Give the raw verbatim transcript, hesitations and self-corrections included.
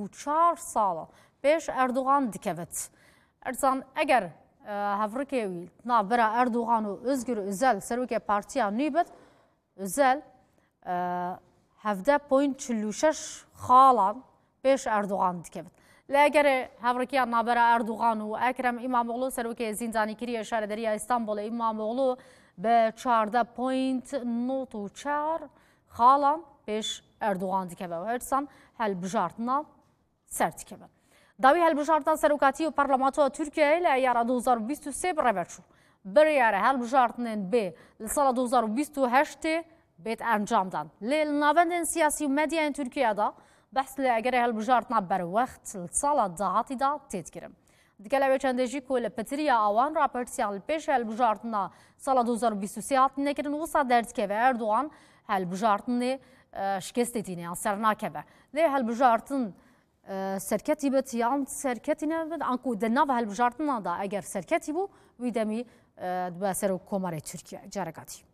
û çar sala pêş Erdogan dikevit. Erzan, eger, e, hevrikê wî navbera Erdogan û Özgür Özel, serokê partiya nû bit, Özel, e, hevdeh point çil û şeş xalan pêş Erdogan dikevit. Lê egerê hevrikiya navbera Erdogan û Ekrem İmamoğlu, serokê zîndanîkirî yê Şarederiya Îstanbulê, İmamoğlu bi çardeh point nod û çar xalan pêş Erdogan dikeve û hersan helbijartina ser dikeve. Dawî helbijartina serokatî û parlamentoya Tirkiyeyê li eyara du hezar û bîst û sê bi rê ve çû. Biryara helbijartinên bê li sala du hezar û bîst û heştê bêt encamdan. Lê li navendên siyasî û medyayên Tirkiye de behs li egerê helbijartina berwext li sala dahatî de tê dikirin. Digel ew ê çendê jî ku li pitiriya awan rapertiyan li pêş helbijartina sala du hezar û bîst û sê hatine kirin, wisa derdikeve Erdogan helbijartinê, e, şikestê tîne yan ser nakeve. Lê helbijartin, e, serketî bit yan serketî nebit, anku di nava helbijartina de eger serketî bû, wî demî, e, dibe serok komarê Tirkiye. Careka dî.